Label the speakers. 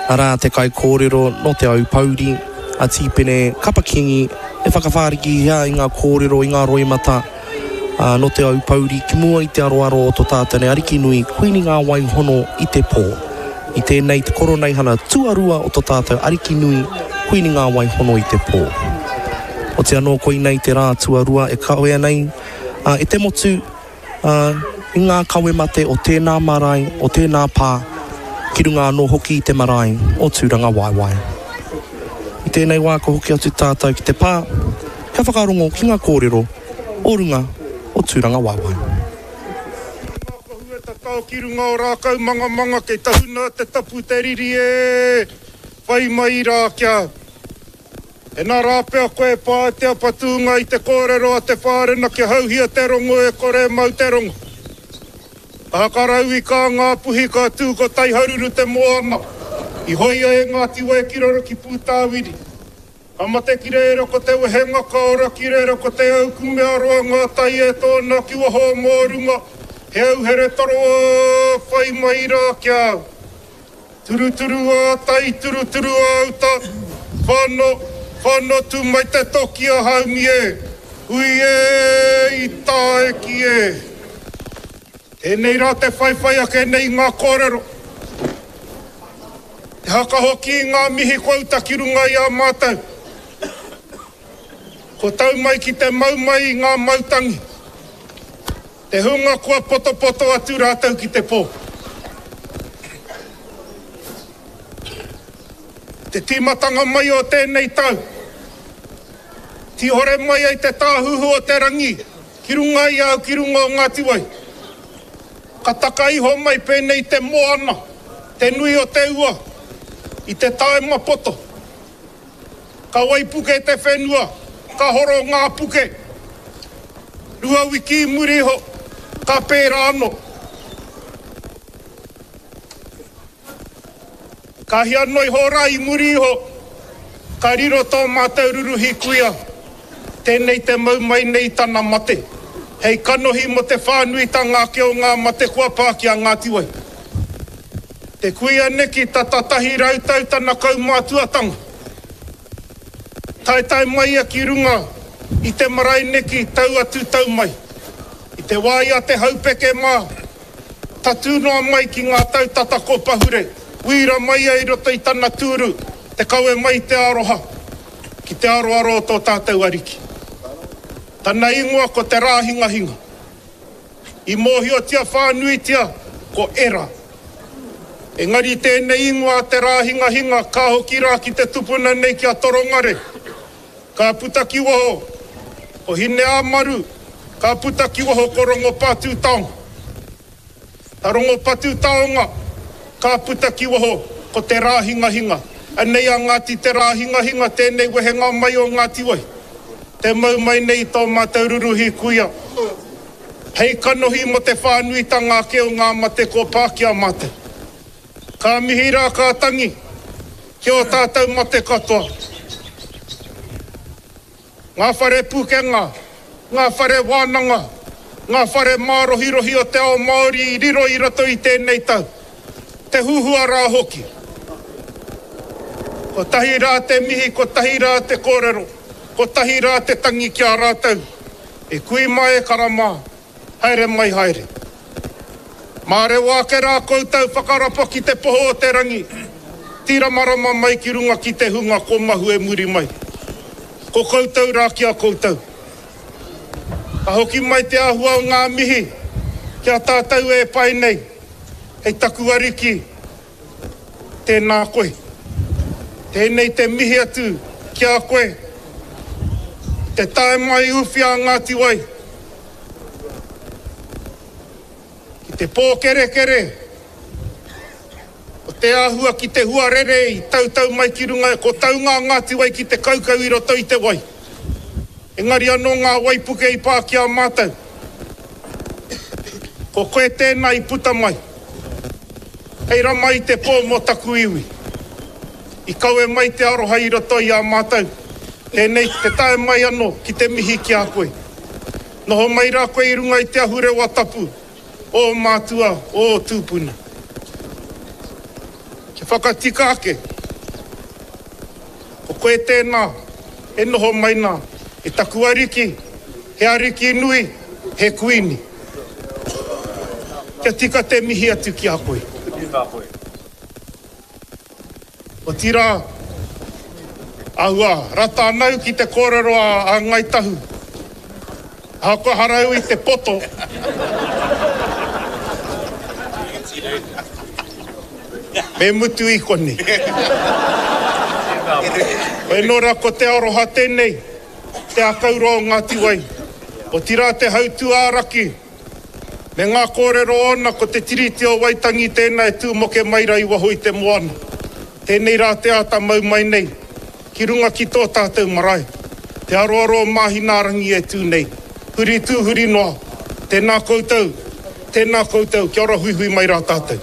Speaker 1: Arā te kaikōrero nō Te Aupōuri, a Tīpene Kapa Kingi, e whakawhārikihia i ngā kōrero, i ngā roimata nō Te Aupōuri ki mua i te aroaro o tō tātou nei Ariki nui, Kuini Ngā Wai Hono i te Pō. I tēnei te koroneihana tuarua o tō tātou Ariki nui, Kuini Ngā Wai Hono i te Pō. Oti anō koinei te rā tuarua e kawea nei e te motu, ā, i ngā kawe mate o tēnā marae, o tēnā pā, ki runga anō hoki i te marae o Tūrangawaewae. I tēnei wā ka hoki atu tātou ki te pā, kia whakarongo ki ngā kōrero o runga o Tūrangawaewae.
Speaker 2: Ngā kohu e tatao ki runga o Rākaumangamanga kei tahuna te tapu te riri e whai mai rā kia Ina rā pea koe e pā te apatūnga i te kōrero a te whārena kia hauhia te rongo e kore e mau te rongo. Ka hakarauika a Ngāpuhi ka tū ko Taiharuru te moana i hoia e Ngāti Wai ki raro ki Pūtāwiri. Ka mate ki reira ko te wehenga ka ora ki reira ko te au kumea roa ngā tai e tōna ki waho o Mōrunga he auhere toroa whai mai rā kia Turuturu ā tai, turuturu ā uta, Whano, whano tū mai te toki a Haumi e, Hui e, i tāeki e. Tēnei rā te whaiwhai ake nei i ngā kōrero, te haka hoki i ngā mihi kua uta ki runga i a mātou. Kua tau mai ki te mau mai i ngā mautangi. Te hunga kua potopoto atu rātou ki te pō. Te tīmatanga mai o tēnei tau, tīhore mai ai te tāhuhu o te rangi ki runga i a au ki runga o Ngāti Wai. Ka taka iho mai pēnei te moana, te nui o te ua, i te taema poto. Ka waipuke te whenua, ka horo ngā puke. 2 wiki i muri iho, ka pērā anō. Ka hia noa iho rā i muri iho, ka riro tō mātou ruruhi kuia, tēnei te mau mai nei i tana mate, hei kanohi mō te whānuitanga ake o ngā mate kua pā ki a Ngāti Wai. Te kuia neki tata 100 tau tana kaumātuatanga. Taetae mai ia ki runga i te marae neki tau atu tau mai. I te wā i a Te Haupeke mā, tatū noa mai ki ngā tau tata ko pahure, wīra mai ia i roto i tana tūru te kawe mai i te aroha ki te aroaro o tō tātou Ariki. Tana ingoa ko Te Rāhingahinga. I mōhiotia whānuitia ko Era. Engari tēnei ingoa a Te Rāhingahinga ka hoki rā ki te tupuna nei ki a Torongare. Ka puta ki waho ko Hineāmaru, ka puta ki waho ko Rongopātūtaonga. Ta Rongopatūtaonga, ka puta ki waho ko Te Rāhingahinga. Anei a Ngāti Te Rāhingahinga tēnei wehenga mai o Ngāti Wai. Te mau mai nei i tō mātou ruruhi kuia. Hei kanohi mō te whānuitanga ake o ngā mate kua pā ki a mātou. Ka mihi rā ka tangi ki ō tātou mate katoa. Ngā whare pukenga, ngā whare wānanga, ngā whare mārohirohi o te ao Māori i riro i roto i tēnei tau. Te huhua rā hoki. Kotahi rā te mihi, kotahi rā te kōrero, kotahi rā te tangi ki a rātou. E kui mā e kara mā, haere mai haere. Mārewa ake rā koutou whakarapa ki te poho o te rangi, tīramarama mai ki runga ki te hunga ko mahue muri mai. Ko koutou rā ki a koutou. Ka hoki mai te āhua o ngā mihi ki a tātou e pae nei, hei taku ariki, Tēnā koe. Tēnei te mihi atu ki a koe. Te tae mai uwhi a Ngāti Wai. Ki te pōkerekere o te āhua ki te huarere i tautau mai ki runga, ko taunga a Ngāti Wai ki te kaukau i roto i te wai. Engari anō ngā waipuke i pā ki a mātou. Ko koe tēnā i puta mai. Hei rama i te pō mō taku iwi. I kawe mai te aroha i roto i a mātou. Tēnei te tae mai anō ki te mihi ki a koe. Noho mai rā koe i runga i te ahurewa tapu o ō mātua, o ō tūpuna. Kia. Te whakatika ake, ko koe tēnā e noho mai nā, e taku ariki, he ariki nui, he kuini. Kia tika te mihi atu ki a koe. Otirā, āhua rata ana au ki te kōrero a Ngāi Tahu, ahakoa hara au i te poto, me mutu i konei. Hoi nō rā ko te aroha tēnei, te ākau roa o Ngāti Wai, otirā te hautū-ā-raki, Me ngā kōrero ōna ko te Tiriti o Waitangi tēnā e tūmoke mai rā i waho i te moana. Tēnei rā te āta mau mai nei ki runga ki tō tātou marae, te aroaro o Māhinaarangi e tū nei. Huri tū huri noa. Tēnā koutou, tēnā koutou, kia ora huihui mai rā tātou.